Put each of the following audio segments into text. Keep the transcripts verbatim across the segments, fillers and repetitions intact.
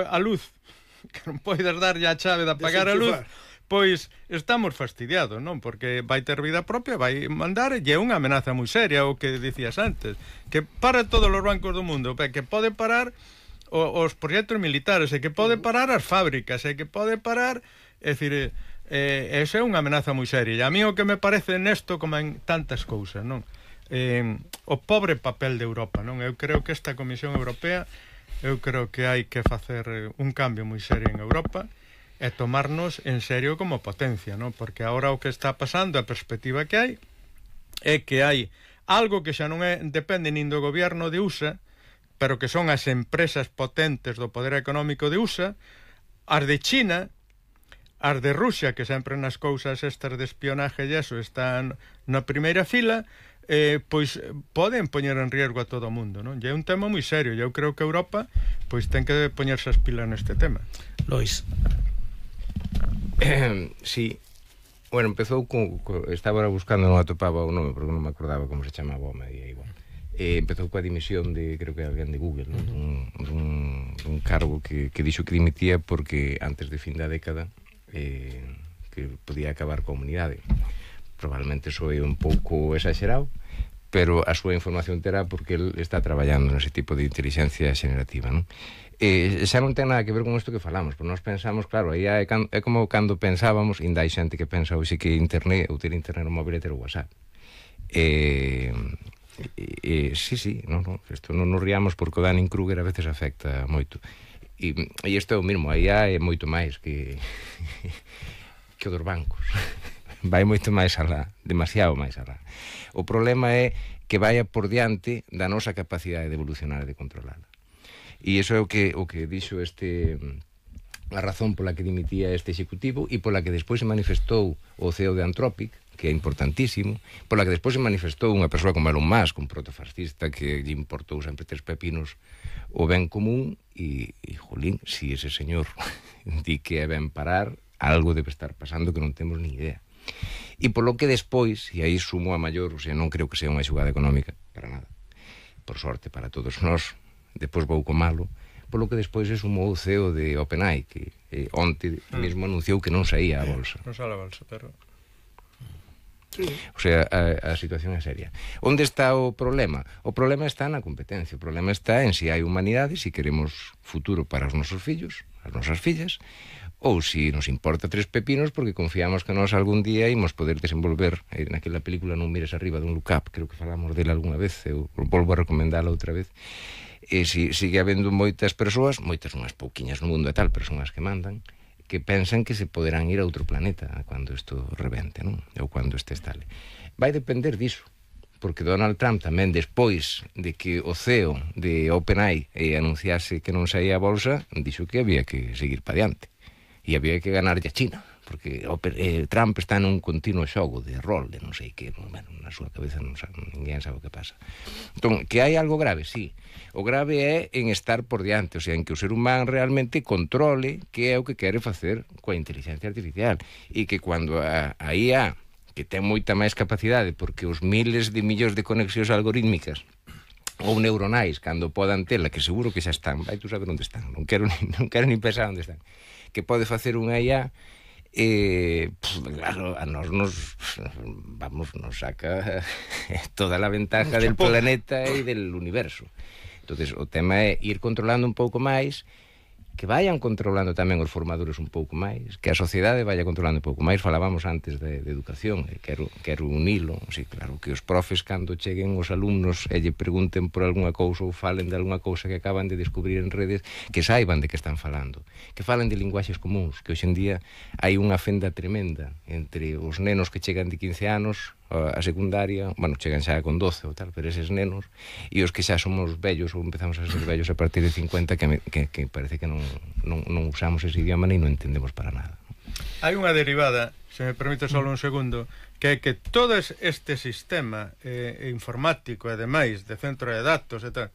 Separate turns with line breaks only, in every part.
a luz, que non podes darlle a chave de apagar a luz, pois estamos fastidiados, non? Porque vai ter vida propia, vai mandar, e é unha amenaza moi seria, o que dicías antes, que para todos os bancos do mundo, que pode parar os proxectos militares, e que pode parar as fábricas, e que pode parar, é dicir, eh, esa é unha amenaza moi seria. E a mí o que me parece nesto, como en tantas cousas, non? Eh, o pobre papel de Europa, non? Eu creo que esta Comisión Europea, eu creo que hai que facer un cambio moi serio en Europa e tomarnos en serio como potencia, non? Porque agora o que está pasando, a perspectiva que hai, é que hai algo que xa non é, depende nin do goberno de U S A, pero que son as empresas potentes do poder económico de U S A, as de China, as de Rusia, que sempre nas cousas estas de espionaje e eso están na primeira fila, eh, pois poden poñer en riesgo a todo o mundo, non? E é un tema moi serio, e eu creo que Europa pois ten que poñerse as pilas neste tema.
Lois.
Eh, sí. Bueno, empezou con, con estaba buscando, non atopaba o nome porque non me acordaba como se chamaba o medio, igual. Eh, empezou coa dimisión de, creo que alguén de Google, ¿no? un, un, un cargo que, que dixo que dimitía porque antes de fin da década eh, que podía acabar coa humanidade. Probablemente soe un pouco exagerado, pero a súa información terá porque el está traballando nese tipo de inteligencia xenerativa, non? E xa non ten nada que ver con isto que falamos, porque nós pensamos, claro, aí é, é como cando pensábamos, ainda hai xente que pensa hoxe que internet, ou ter internet no móvil é ter o WhatsApp. E, e, e sí, sí, non, non, isto non nos riamos porque o Dunning-Kruger a veces afecta moito. E, e isto é o mesmo, aí é moito máis que que o dos bancos. Vai moito máis alá, demasiado máis alá. O problema é que vaya por diante da nosa capacidade de evolucionar e de controlarla. E iso é o que o que dixo este a razón pola que dimitía este executivo e pola que despois se manifestou o C E O de Anthropic, que é importantísimo, pola que despois se manifestou unha persoa como Elon Musk, un protofascista que lle importou sempre tres pepinos o ben común e, e jolín, si ese señor di que é ben parar, algo debe estar pasando que non temos ni idea. E polo que despois, e aí sumo a maior, o sea, non creo que sea unha xugada económica para nada, por sorte para todos nós, despois vou co malo, polo que despois se sumou o C E O de OpenAI, que eh, onte mm. mesmo anunciou que non saía a bolsa.
Non saía a bolsa, pero...
Sí. O sea, a, a situación é seria. Onde está o problema? O problema está na competencia, o problema está en se si hai humanidade, se si queremos futuro para os nosos fillos, as nosas fillas, ou se si nos importa tres pepinos porque confiamos que nós algún día imos poder desenvolver eh, naquela película Non mires arriba dun Look Up, creo que falamos dela algunha vez, eu volvo a recomendala outra vez. E si sigue habendo moitas persoas, moitas unhas pouquiñas no mundo e tal, pero son as que mandan, que pensan que se poderán ir a outro planeta cando isto rebente, non? Ou cando este estale. Vai depender diso, porque Donald Trump tamén despois de que o C E O de OpenAI eh, anunciase que non saía a bolsa, dixo que había que seguir pa diante. E había que ganarlle a China, porque eh, Trump está nun continuo xogo de rol, de non sei que, bueno, na súa cabeza non sabe, ninguén sabe o que pasa. Entón, que hai algo grave, sí. O grave é en estar por diante, o sea, en que o ser humano realmente controle que é o que quere facer coa inteligencia artificial, e que cando a, a I A, que ten moita máis capacidade, porque os miles de millóns de conexións algorítmicas ou neuronais, cando podan tela, que seguro que xa están, vai tú saber onde están, non quero ni, non quero ni pensar onde están, que pode facer unha I A, eh, pues, claro, a nos nos vamos, nos saca toda a ventaja del planeta e del universo. Entonces, o tema é ir controlando un pouco máis, que vayan controlando tamén os formadores un pouco máis, que a sociedade vaya controlando un pouco máis. Falábamos antes de, de educación, e quero, quero unilo, sí, claro, que os profes cando cheguen os alumnos e lle pregunten por algunha cousa ou falen de algunha cousa que acaban de descubrir en redes, que saiban de que están falando, que falen de linguaxes comuns, que hoxe en día hai unha fenda tremenda entre os nenos que chegan de quince anos a secundaria, bueno, chegan xa con doce ou tal, pero eses nenos, e os que xa somos vellos ou empezamos a ser vellos a partir de cincuenta, que, me, que, que parece que non, non, non usamos ese idioma ni non entendemos para nada.
Hai unha derivada, se me permite só un segundo, que é que todo este sistema eh, informático e demais, de centro de datos e tal,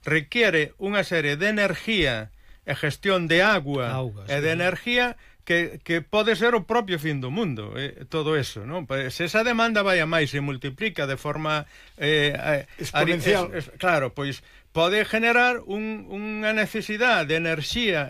requiere unha serie de energía e gestión de agua Augas, e de sí. energía que, que pode ser o propio fin do mundo, eh, todo eso, non? Se esa demanda vai a máis e multiplica de forma eh,
exponencial,
eh, es, es, claro, pois pode generar un, unha necesidade de enerxía